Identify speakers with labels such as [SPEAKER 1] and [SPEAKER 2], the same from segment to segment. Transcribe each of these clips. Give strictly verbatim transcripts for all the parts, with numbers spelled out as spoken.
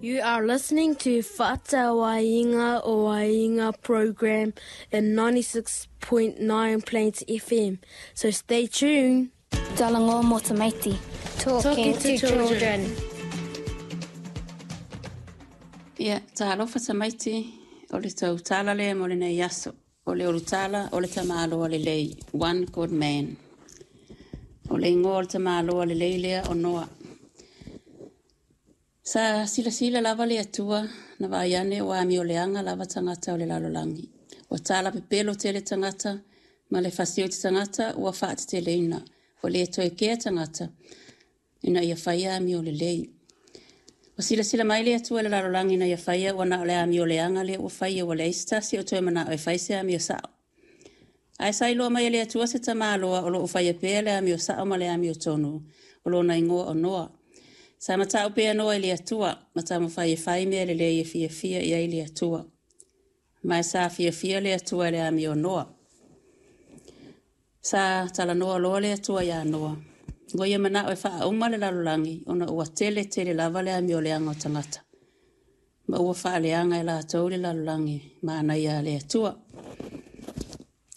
[SPEAKER 1] You are listening to Fa'atauaiga o Aiga program in ninety-six point nine Plains F M. So stay tuned.
[SPEAKER 2] Talanoa mo tamaiti.
[SPEAKER 3] Talking to children.
[SPEAKER 4] Ia, talofa tamaiti, o le tautala lea mo lenei aso. O le olutala o le tamaloa lelei, one good man. O le igoa o le tamaloa lelei lea o Noa. Sa silasila lava le Atua na vaai ane ua amioleaga lava tagata o le lalolagi. Ua tala pepelo tele tagata ma le fasioti tagata ua faateteleina. Ua le toe kea tagata ina ia faia amio lelei. Ua silasila mai le Atua i le lalolagi na ia faia ua na o le amioleaga lea ua faia ua leai se tasi o toe manao e fai se amio sao. Ae sa iloa mai e le Atua se tamaloa o loo faia pea le amio sao ma le amio tonu o lona igoa o Noa. Sa matau pea Noa i le Atua ma taumafai e fai mea lelei e fiafia i ai le Atua. Ma e sa fiafia le Atua i le amio o Noa. Sa talanoa loa le Atua iā Noa. Ua ia manao e faauma le lalolagi ona ua tele tele lava le amioleaga o tagata. Ma ua faaleaga e latou le lalolagi manaia a le Atua.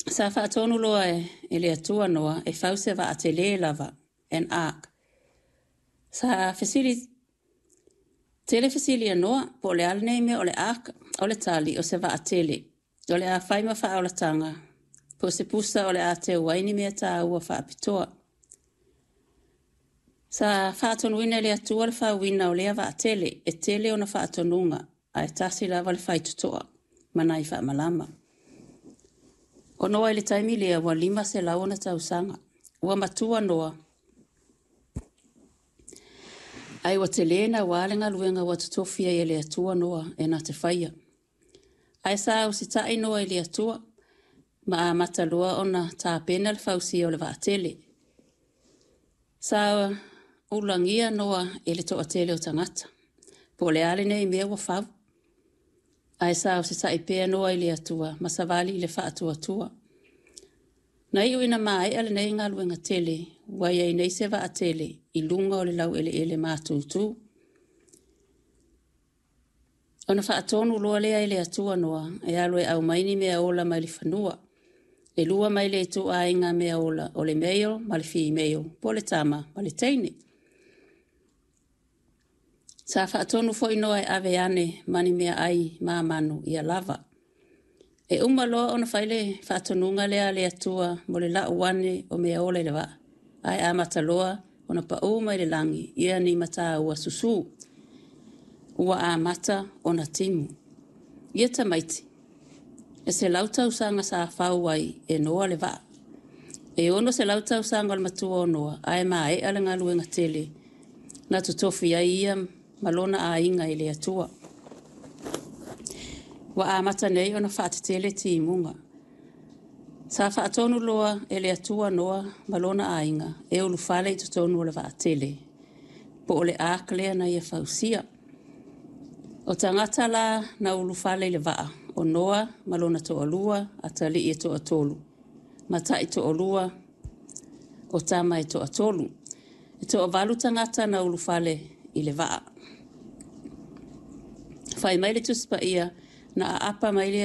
[SPEAKER 4] Sa faatonu loa e, e le Atua Noa e fau se vaatele lava, an ark. Sa fesili tele fesili a Noa po o le a lenei mea o le ark. O le tali o se vaatele. O le a fai ma faaolataga po o se pusa o le a teu ai ni mea tāua faapitoa. Sa faatonuina e le Atua le fauina o lea vaatele e tele ona faatonuga ae tasi lava le faitotoa ma nai faamalama. O Noa i le taimi lea ua lima selau ona tausaga. Ua matua Noa. Ae ua tele naua le galuega ua totofi ai e le Atua Noa e na te faia. Ae sa usita'i Noa i le Atua ma amata loa ona tapena le fausia o le vaatele. Sa ulagia Noa e le toatele o tagata. Po o le a lenei mea ua fau. Ae sa usita'i pea Noa i le Atua ma savali i le faatuatua. Na iu ina maea lenei galuega tele, ua iai nei se vaatele i luga o le laueleele matutu. Ona faatonu loa lea e le Atua Noa e alu e aumai ni mea ola mai le fanua. E lua mai le ituaiga mea ola o le male ma le female, po o le tama ma le teine. Sa faatonu foi Noa e ave ane ma ni meaai ma manu ia lava. E uma loa ona fai le faatonuga lea a le Atua mo le lau ane o mea ola i le vaa. Ae amata loa ona paū mai le lagi ia ni mata ua susū. Ua amata ona timu. Ia tamaiti, e selau tausaga sa fau ai e Noa le vaa. E ono selau tausaga o le matua o Noa, ae maea le galuega tele. Na totofi ai ia ma lona aiga i le Atua. Ua amata nei ona faatetele timuga. Sa faatonu loa e le Atua Noa ma lona aiga e ulufale i totonu o le vaatele. Po o le ark lea na ia fausia. O tagata la na ulufale i le vaa, o Noa ma lona toalua, atalii e toatolu. Ma tai toalua, o tama e toatolu. E toavalu tagata na ulufale i le vaa. Fai mai le Tusi Paia na aapa mai le